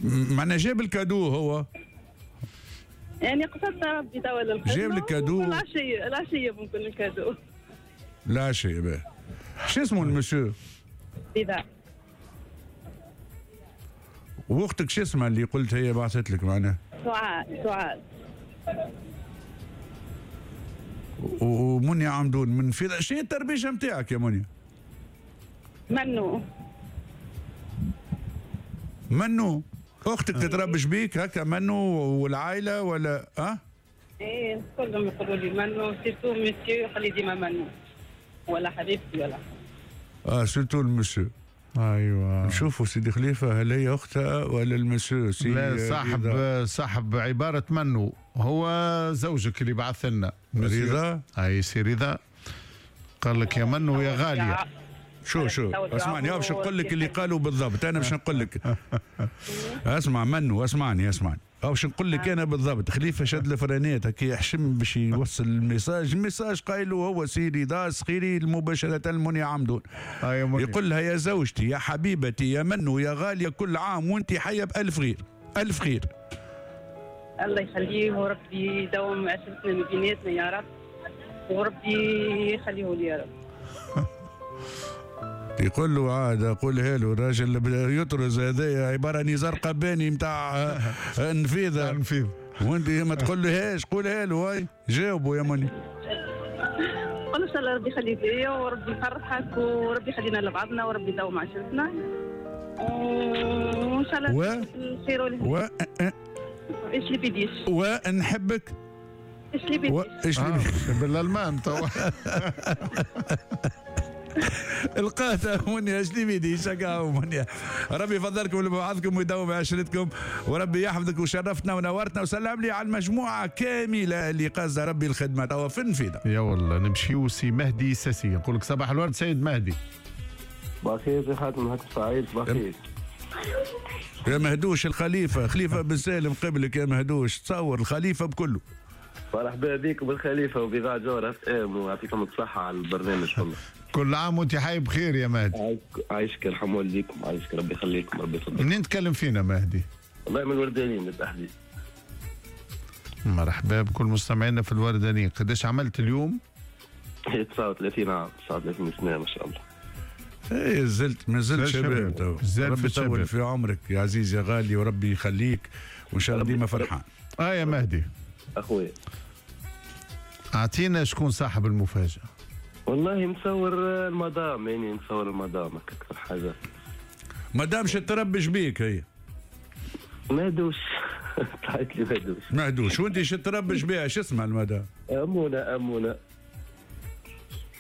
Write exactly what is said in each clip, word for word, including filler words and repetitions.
معناها جاب ال cadeau هو؟ يعني قصدت ربي توا للخدمة. جاب لك cadeau؟ العشية، العشية ممكن ال cadeau. العشية باهي. شو اسمه المسيو؟ رضا. واختك شو اسمها اللي قلت هي بعثت لك معناها؟ سعاد. سعاد. ومنيا عمدون من في شنو التربيشه نتاعك يا منيا؟ منو. منو؟ اختك تتربش بيك هكا منو والعائلة ولا اه؟ ايه كلهم يقولوا لي منو، surtout monsieur يقول لي ديما منو ولا حبيبتي ولا اه surtout ال monsieur. ايوه نشوفوا سيدي خليفة هل هي اختها ولا المسيو؟ سي لا صاحب رضا. صاحب عبارة منو هو زوجك اللي بعث لنا رضا. اي سي رضا قال لك يا منو يا غالية. شو شو اسمعني باش نقول لك اللي قالوا بالضبط، انا باش نقول لك اسمع منو اسمعني اسمعني باش نقول لك انا بالضبط. خليفة شد الفرانات هكا يحشم باش يوصل ال message، ال message قايله هو سي رضا صخيري مباشرة لمنيا عمدون. يقول لها يا زوجتي يا حبيبتي يا منو يا غالية كل عام وانت حيه بالف خير الف خير. الله يخليه وربي يدوم عشرتنا من بيناتنا يا رب، وربي يخليه لي يا رب. يقول له عاد قولها له الراجل يطرز هذايا عبارة نزار قباني نتاع النفيذه النفيذ، وانت ما تقولهاش قولها له. هاي جاوبوا يا مني. قول ان شاء الله ربي يخليك ليا وربي يفرحك وربي يخلينا لبعضنا وربي يدوم عشرتنا وان شاء الله و... الخير والهنا. و ايش اللي بيديش ونحبك ايش اللي بيديش ايش اللي آه. بالالمان توا القاتا منيا اش لي بيدي شكا منيا. ربي يفضلكم لبعضكم ويدوم عشرتكم وربي يحفظك وشرفتنا ونورتنا وسلم لي على المجموعة كاملة اللي قصد ربي الخدمة توا في النفيذه. يا والله نمشيو سي مهدي ساسي نقول لك صباح الورد سيد مهدي. صباح الخير سي خاتم، هاك سعيد صباح الخير. يا مهدوش الخليفة، خليفة بن سالم قبلك يا مهدوش، تصور الخليفة بكله. مرحبا بكم بالخليفه وبإذاعة جوهرة اف ام ويعطيكم الصحة على البرنامج والله. كل عام وانت حي بخير يا مهدي. عايشك يرحم والديكم، عايشك ربي يخليكم ربي يفضلك. منين تكلم فينا مهدي؟ والله من الوردانيين بالتحديد. مرحبا بكل مستمعينا في الوردانيين. قداش عملت اليوم؟ تسعة وثلاثين عام، تسعة وثلاثين سنة ما شاء الله. ايه زلت ما زلت شباب تو. ربي يطول في عمرك يا عزيز يا غالي وربي يخليك وان شاء الله ديما فرحان. اه يا مهدي اخويا اعطينا شكون صاحب المفاجأة. والله نصور المدام، يعني نصور المدام اكثر حاجة. مدام شو تربش بيك هي؟ مهدوش. طلعت لي مهدوش. مهدوش وانت شو تربش بها؟ شو اسمها المدام؟ امونه. امونه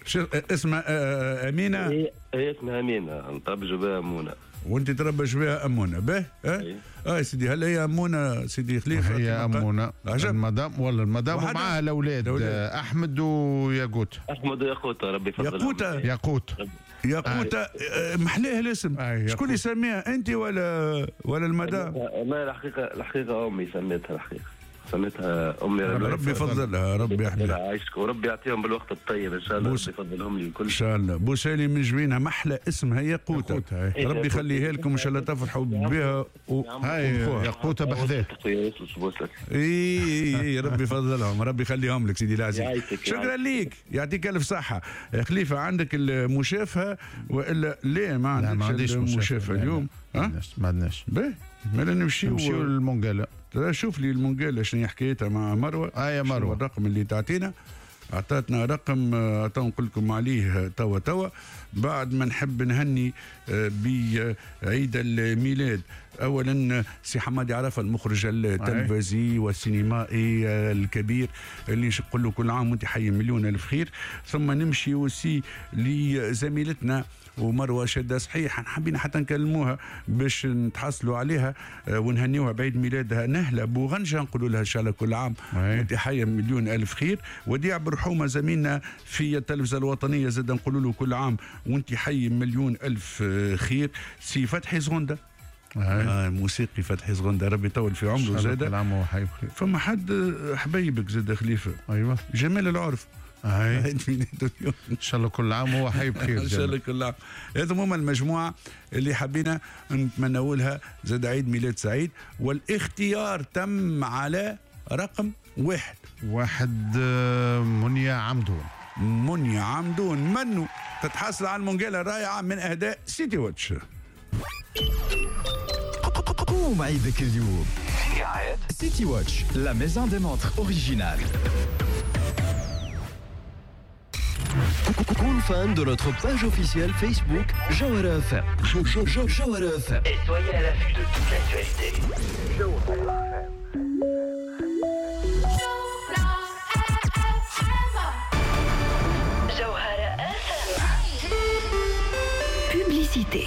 شو اسمها؟ امينه. هي هي اسمها امينه، نتربش بها امونه. وانت تربش بها امونه به؟ اه اه سيدي هل هي امونه سيدي خليفة؟ هي امونه المدام ولا المدام ومعها الاولاد احمد وياقوت. احمد وياقوت ربي يفضلهم. ياقوته ياقوت ياقوته آه. محلاه الاسم. آه. شكون اللي سميها انت ولا ولا المدام؟ والله الحقيقة الحقيقة امي سميتها، الحقيقة سميتها امي. ربي يفضلها ربي يحميها. عايشك وربي يعطيهم بالوقت الطيب ان شاء الله، ربي يفضلهم لي الكل ان شاء الله. بوسالي من جبينها محلى اسمها ياقوته، ربي يخليها لكم ان شاء الله تفرحوا بها و... هاي ياقوته بحذاك. اي اي ربي يفضلهم ربي يخليهم لك سيدي العزيز. شكرا ليك يعطيك الف صحة. خليفة عندك المشافهه والا لا؟ ما عندكش المشافهه اليوم؟ ما عندناش. باهي مالا نمشيو نمشيو للمونجالا. شوف لي المونجالا شنو حكايتها مع مروه. اه يا مروه الرقم اللي تعطينا، اعطتنا رقم تو نقول لكم عليه توا توا بعد ما نحب نهني بعيد الميلاد. اولا سي حمادي عرفه المخرج التلفزي والسينمائي الكبير اللي نقول له كل عام وانت حي مليون الف خير. ثم نمشي وسي لزميلتنا ومروه شده صحيح حابين حتى نكلموها باش نتحصلوا عليها ونهنيوها بعيد ميلادها نهله بوغنجه، نقولوا لها ان شاء الله كل عام وانت حيه مليون الف خير. وديع برحومه زميلنا في التلفزة الوطنية زاد نقولوا له كل عام وانت حي مليون الف خير. سي فتحي زغنده آه موسيقي فتحي زغنده ربي يطول في عمره زاد. كل عام وهو حي بخير. فما حد حبيبك زاد خليفة. ايوه جمال العرف عيد ميلاده اليوم. ان شاء الله كل عام وهو حي بخير. ان شاء الله كل عام. هذم هما المجموعة اللي حبينا نتمنوا لها زاد عيد ميلاد سعيد، والاختيار تم على رقم واحد. واحد منيا عمدون. منيا عمدون منو تتحصل على المونجيلا الرائعة من اهداء سيتي واتش. قوم عيدك اليوم سيتي واتش، la maison des montres originales. كون fan de notre page officielle Facebook Jawhara إف إم. Jawhara إف إم. Et soyez à l'affût de toute l'actualité. Jawhara إف إم. Jawhara إف إم. Publicité.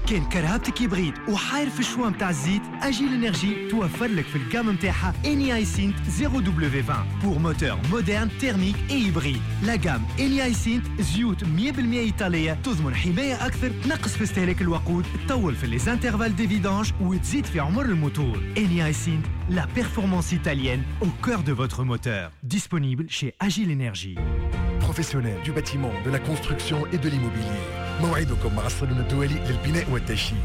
كان كرهبتك hybride وحاير في ال choix نتاع الزيت، Agile Energy توفر لك في ال gamme نتاعها Eni iSynth zéro W vingt pour moteur moderne thermique et hybride. La gamme Eni iSynth زيوت مية بالمية ايطالية تضمن حماية اكثر، تنقص في استهلاك الوقود، تطول في les intervalles de vidange وتزيد في عمر الموتور. Eni iSynth, la performance italienne au cœur de votre moteur. Disponible chez Agile Energy. Professionnels du bâtiment, de la construction et de l'immobilier. موعدكم مع الصالون الدولي للبناء والتشييد.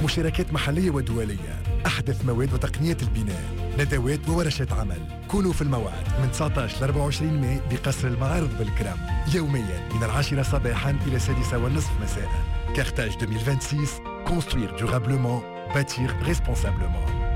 مشاركات محلية ودولية، أحدث مواد وتقنيات البناء، ندوات وورشات عمل. كونوا في الموعد من تسعة عشر ل أربعة وعشرين ماي بقصر المعارض بالكرم، يوميا من العاشرة صباحا إلى السادسة والنصف مساء. Carthage ألفين وستة وعشرين، construire durablement, bâtir responsablement.